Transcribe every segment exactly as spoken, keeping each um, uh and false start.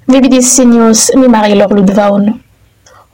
Vbdc News, mi Marilor Ludvaun.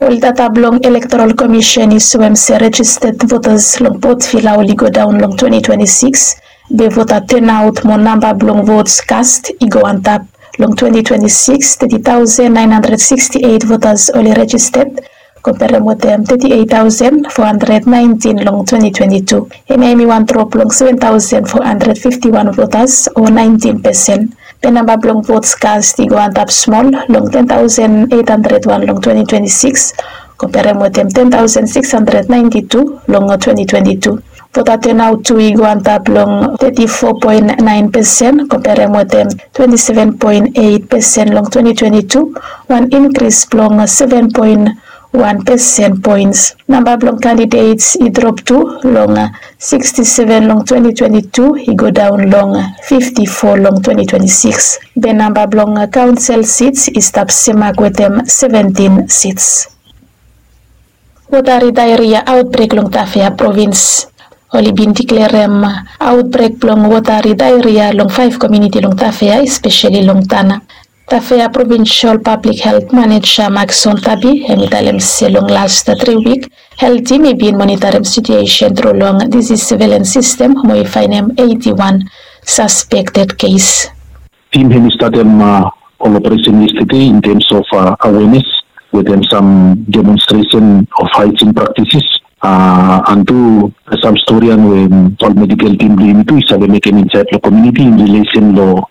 Ol data blong Electoral Commission i soem se registered voters long Port Vila oli go daon long twenty twenty-six, be vota turnout mo namba blong votes cast i go antap. Long twenty twenty-six, thirty thousand nine hundred sixty-eight voters oli registered, komperem wetem thirty-eight thousand four hundred nineteen long twenty twenty-two. Hemia hemi wan drop long seven thousand four hundred fifty-one voters o nineteen percent. Be namba blong votes cast i go antap smol long ten thousand eight hundred one long twenty twenty-six, komperem wetem ten thousand six hundred ninety-two long twenty twenty-two. Vota turnout tu i go antap long thirty-four point nine percent, komperem wetem twenty-seven point eight percent long twenty twenty-two, wan increase blong seven point one percent points. Namba blong candidates i drop tu long sixty-seven long twenty twenty-two, i go daon long fifty-four long twenty twenty-six. Be namba blong council seats i stap semak wetem seventeen seats. Watery diarrhea outbreak long Tafea provins. Oli bin diklerem outbreak blong watery diarrhea long faef komuniti long Tafea, espeseli long Tana. Tafea Provincial Public Health Manager Maxon Tabi hemi talem se long las tri wik, health team i bin monitorim situation tru long disease surveillance system mo i faenem eighty-one suspected case. Tim hemi statem ol operesen yestede in terms of awareness wetem sam demonstration of hygiene practices. And tu sam storian we ol medical team blong yumi tu i save mekem insaed long komuniti in relation long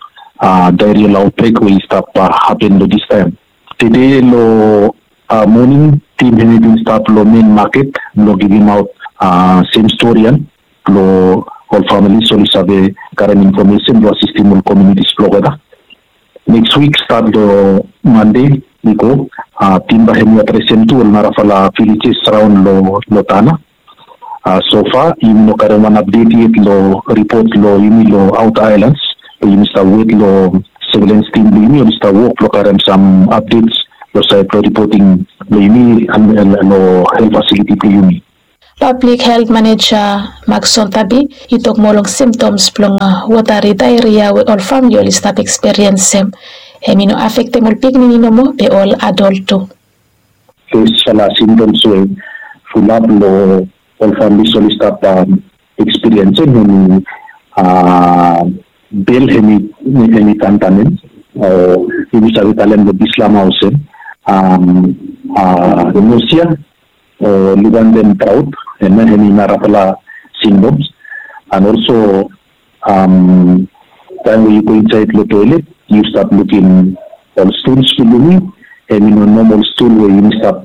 diarrheal outbreak we i stap hapen long distaem. Tede long moning, tim hemi bin stap long main maket blong givimaot sem storian blong ol familis oli save karem infomesen blong asistem ol komunitis blong olgeta. Neks wik stat long Mande i go, tim bae hemi adresem tu ol narafala villages raon long Tana. Sofa yumi no karem wan apdet yet long ripot long yumi long outer islands. Be yumi stap wet long surveillance team blong yumi oli stap wok blong karem sam apdets long saed blong ripoting blong yumi long health facility blong yumi. Public Health Manager Maxon Tabi i tok moa long symptoms blong watery diarrhea we ol famili oli stap eksperiensem. Hemi no afektem ol pikinini nomo, be ol adol tu. First symptoms we fulap long ol familis oli stap eksperiensem hemi bel hemi tantanem, o yumi save talem long Bislama olsem nausea, o lukantem praot, hemia hemi narafala symptoms. And also taem we yu go insaed long toelet yu stap lukim ol stools blong yumi, hemi no nomol stool we yumi stap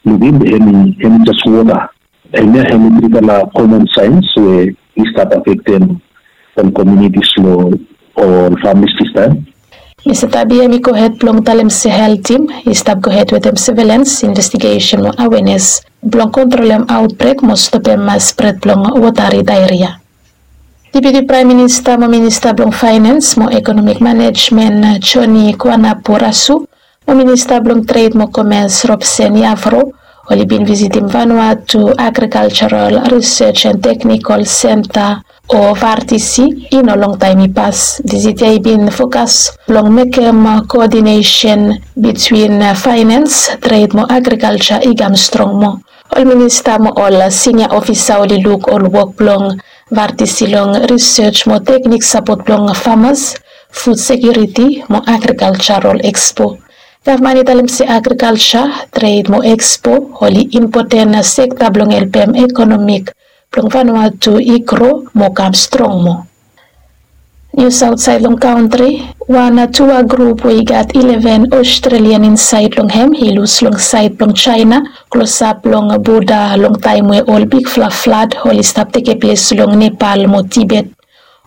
lukim, hemi jes wota. Hemia hemi trifala common signs we i stap afektem ol komunitis long ol familis distaem. Mista Tabi hemi gohed blong talem se health team i stap gohed wetem surveillance, investigation mo awareness blong kontrolem outbreak mo stopem spred blong watery diarrhea. Deputi Praem Minista mo Minista blong Finance mo Economic Management Johnny Kuanapurasu mo Minista blong Tred mo Komes Robson Yavro oli bin visitim Vanuatu Agricultural Research and Technical Centre o VARTC i no longtaem i pas. Visit ya i bin fokas blong mekem coordination between finance, tred mo agriculture i kam strong moa. Ol minista mo ol sinia ofisa oli luk ol wok blong VARTC long research mo teknik sapot blong farmers, food security mo agricultural expo. Gavman i talem se agrikalsa, tred mo expo oli impoten sekta blong helpem ekonomik blong Vanuatu i gro mo kam strong moa. Nius aotsaed long kantri. Wan tua grup we i gat ileven Australian insaed long hem i lus long saed blong Jaena klosap long boda long taem we ol bigfala flad oli stap tekeples long Nepal mo Tibet.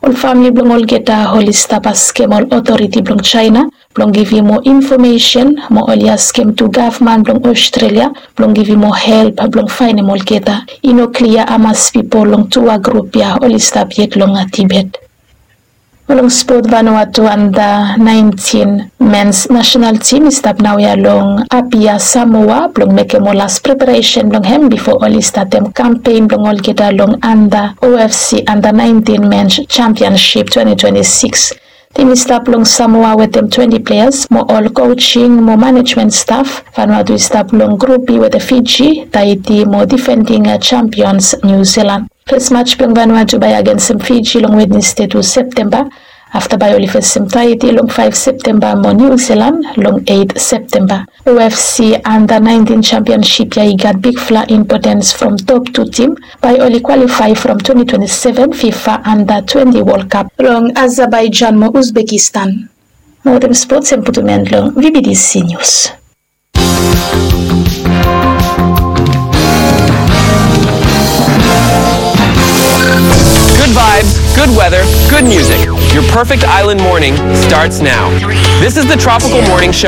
Ol famle blong olgeta oli stap askem ol otoriti blong Jaena blong givim moa infomesen mo oli askem tu gavman blong Australia blong givim moa help blong faenem olgeta. I no klia hamas pipol long tua grup ya oli stap yet long Tibet. Mo long spot, Vanuatu anda naentin mens nasenal tim i stap naoia long Apia, Samoa blong mekem ol las preparesen blong hem bifo oli statem kampen blong olgeta long anda OFC anda naentin mens jampionsip twenti twenti sikis. Tim i stap long Samoa wetem twenti pleas mo ol coaching mo manejmen staf. Vanuatu i stap long grup B wetem Fiji, Tahiti mo difending champions New Zealand. Fes maj blong Vanuatu bae agensem Fiji long Wednesde tu Septemba. Afta bae oli fesem Tahiti long faef Septemba mo New Zealand long eit Septemba. UFC Anda naentin Championship ya i gat bigfala impotens from top tu tim bae oli kwalifae from twenti twenti seven FIFA Anda twenti Wol Kap long Azerbaijan mo Uzbekistan. Mo wetem spots em putum en long VBTC News. Good vibes, good weather, good music. Your perfect island morning starts now. This is the Tropical Morning Show.